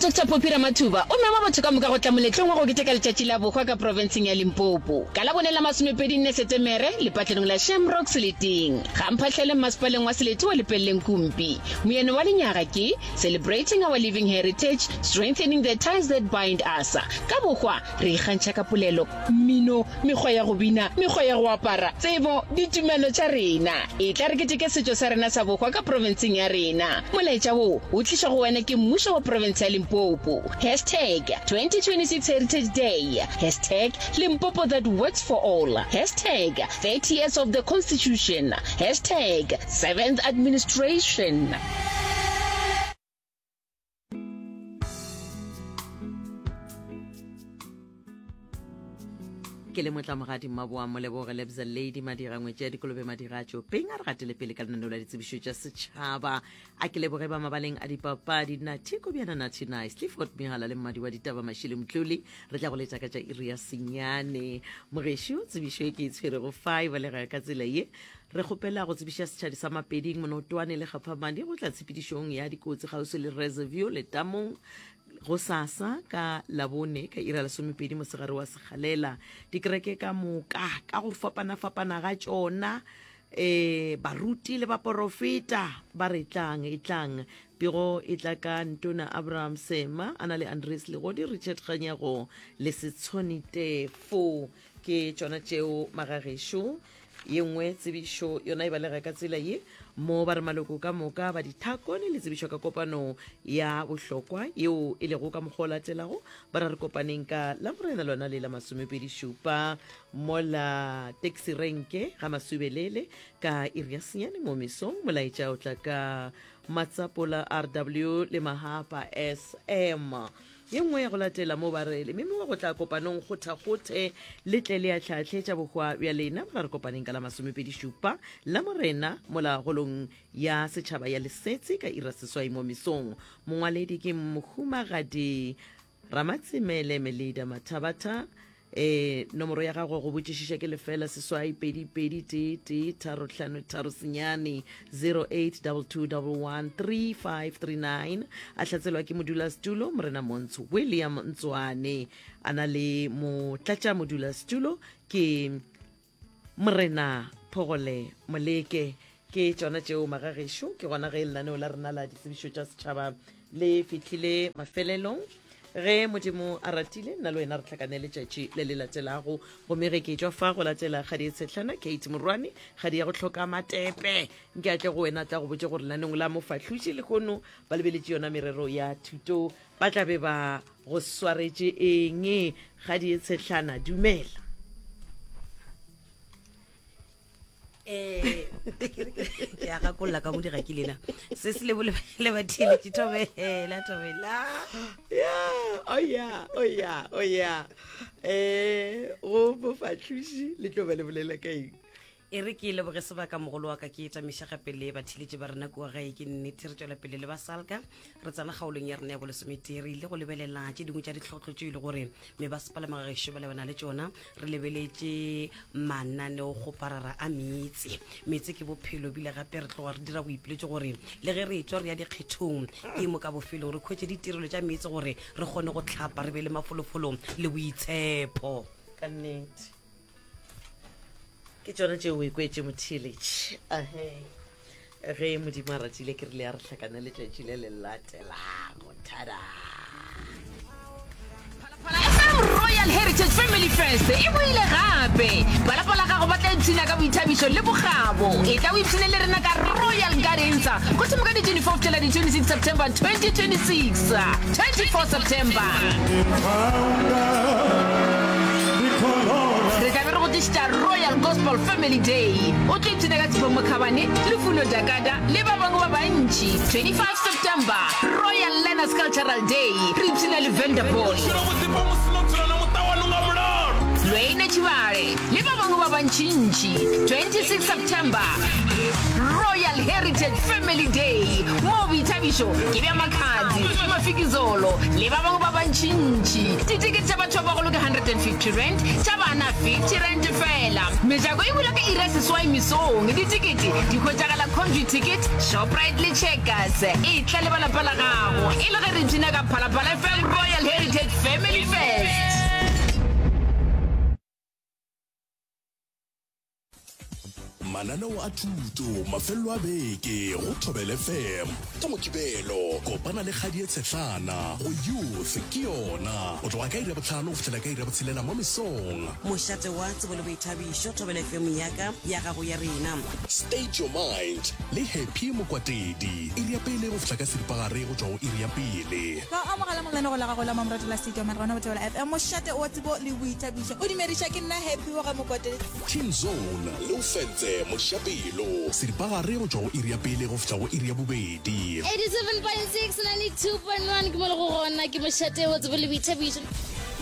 Doctor Phophi Ramathuba o mema batho ka moka go tla moletlong wa go keteka letšatši la bohwa ka profenseng ya Limpopo ka Labone la masomepedinne Setemere lepatlelong la Shamrock Seleteng ga Mphahlele mmasepaleng wa Selete wa Lepelleng Kumpi. Moyeno wa lenyaga ke Celebrating our Living Heritage, Strengthening the Ties that Bind Us. Ka bohwa re ikgantšha ka polelo, mmino, mekgwa ya go bina, mekgwa ya go apara, tsebo, ditumelo tša rena. Etla re keteke setšo sa rena sa bohwa ka profenseng ya rena. Molaetša wo o tlišwa go wena ke mmušo wa profense ya Limpopo. Hashtag 2026 Heritage Day, hashtag Limpopo that works for all, hashtag 30 years of the Constitution, hashtag Seventh Administration. Ke le motlamogadi mmaboa moleboge lebza lady madira ngwetši ya dikolobe madira a tšopeng a re gatele pele ka lenaneo la ditsebišo tša setšhaba a ke leboge ba mabaleng a dipapadi nathi kobjana nathi nice clifford mehala le mmadi wa ditaba mašile motloli re tla go letša ka tša iri ya senyane mogešo tsebišo e ke e tshwerego fa e balega ka tsela ye Re kgopela go tsebiša setšhadi sa Mapeding, Monotwane le Kgaphamadi go tla tshepedišong ya dikotsi kgauswi le Reserview letamong gosasa ka Labone ka ira lesomepedi mosegare wa sekgalela. Dikereke ka moka ka go fapana-fapana ga tšona e baruti le baporofeta ba re tlang e tlang pego e tla ka ntona Abraham Sema a na le Andres Legodi Richard Kganyago le Setshoni Tefo ke tšona tšeo magagešo Ye nngwe tsebišo yona e balega ka tsela ye, mo ba re maloko ka moka ba dithakone le tsebišo ka kopano ya bohlokwa yeo e lego ka mokgwa o latelago, ba ra re kopaneng ka Lamorena lona le la masomepedi šupa mola taxi renke ga Masubelele ka iri ya senyane mo mesong. Molaetša o tla ka Matsapola RW le Mahapa SM. Ye nngwe ya go latela mo ba re le memiwa go tla kopanong kgothakgothe le tle le ahlaahle tša bohwa bja lena mola re kopaneng ka la masomepedi-šupa la Morena mola holong ya setšhaba ya Lesetse ka ira seswai mo mesong. Mongwaledi ke Mohumagadi Ramatsemele Melida Mathabatha. E, nomoro ya gagwe go botšišiša ke lefela seswai pedi pedi tee tee tharo hlano tharo senyane 0822113539 a hlatselwa ke modulasetulo morena Montsho William Ntswane a na le motlatša modulasetulo ke Morena Phogole Moleke. Ke tšona tšeo magagešo, ke gona ge lenaneo la rena la ditsebišo tša setšhaba le fihlile mafelelong. Ge Modimo a ratile, nna le wena re hlakane letšatši le le latelago. Gomme ge ke tšwa fa go latela kgadi e tshehlana, Kate Morwane, kgadi ya go hloka matepe, nke a tle go wena a tla go botše gore lenaneong la mofahloši lehono ba lebeletše yona merero ya thuto, ba tla be ba go swaretše eng. Kgadi e tshehlana, dumela. Eh, ke a gakolola ka modira ke lena se se lebo le batheeletše thobela thobela ya o ya o ya o ya um go bofahloši le tlo ba le bolela ka eng E re ke leboge sebaka mogolo wa ka ke tamiša gape le batheeletši ba rena kua gae. Ke nnete re tšwela pele le ba Salka re tsena kgaolong ya rena ya bolesometee re ile go lebelela tše dingwe tša ditlhohlo tše e le gore mebasepala magagešo ba lebana le tšona. Re lebeletše mananeokgoparara a meetse. Meetse ke bophelo bile gape re tloga re dira boipiletšo gore le ge re etšwa re ya dikgethong ke mo ka bofelong re khwetše ditirelo tša meetse gore re kgone go hlapa re be le mafolofolo le boitshepo. Ka nnete. Ke tšona tšeo o ikwetše motheeletši. Ahe. Ge Modimo a ratile ke rile a re hlakane letšatši le le latelago. Tada! Phalaphala FM Royal Heritage Family Fest e boile gape! Ba lapa la gago ba tla ipshina ka boithabišo le bokgabo. Etla o ipshine le rena ka Royal Gardens go thoma ka di 24 go fihlela di 26 September 2026. 24 September. Re tla be re go tlišetša Royal Gospel Family Day. O tlo ipshina ka Sipho Mokhabane, Lufuno Dakada le ba bangwe ba bantši. 25 September, Royal Learners Cultural Day. Re ipshina le Vanderpool, Lwene Tshibale le ba bangwe ba bantšintši. 26 September, Royal Heritage Family Day, moo boithabišo. Boithabišo ke bja Makhadzi, Mafikizolo le ba bangwe ba bantšintši. Ditekete tša batho ba bagolo ke R150, tša bana R50 feela. Mejako e bula ka iri ya seswai mesong. Ditekete di hwetšagala Computicket, Shoprite le Checkers. Etla le ba lapa la gago e le ge re ipshina ka Phalaphala FM Royal Heritage Family Fest. Mananeo a thuto mafelelo a beke go Thobela FM ka Mokibelo. Kopana le Kgadie Tshehlana go Youth ke yona go tloga ka iri ya bohlano go fihlela ka iri ya botshelela mo mesong. Mošate wa tsebo le boithabišo, Thobela FM ya ka, ya gago, ya rena. State Your Mind le Happy Mokwatedi, iri ya pele go fihla ka seripagare go tšwa go iri ya pele. Ka o amogela mo lenanego la gago la mamorato la State Your Mind gona go Thobela FM, mošate wa tsebo le boithabišo. O dumediša ke nna Happy wa ga Mokwatedi. Teen Zone le o fentse Mošapelo. Seripagare go tšwa go iri ya pele go fihla go iri ya bobedi. 87.6 92.1 ke mo le go gona ke mošate wa tsebo le boithabišo.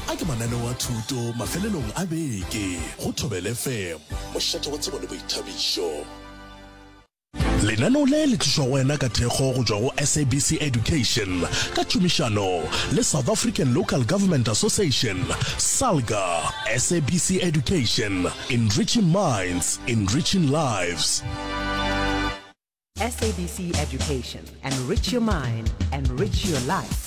A ke mananeo a thuto mafelelong a beke go Thobela FM, mošate wa tsebo le boithabišo. Lenaneo le le tlišwa go wena ka thekgo go tšwa go SABC Education ka tšhomišano le South African Local Government Association, SALGA. SABC Education, enriching minds, enriching lives. SABC Education, enrich your mind, enrich your life.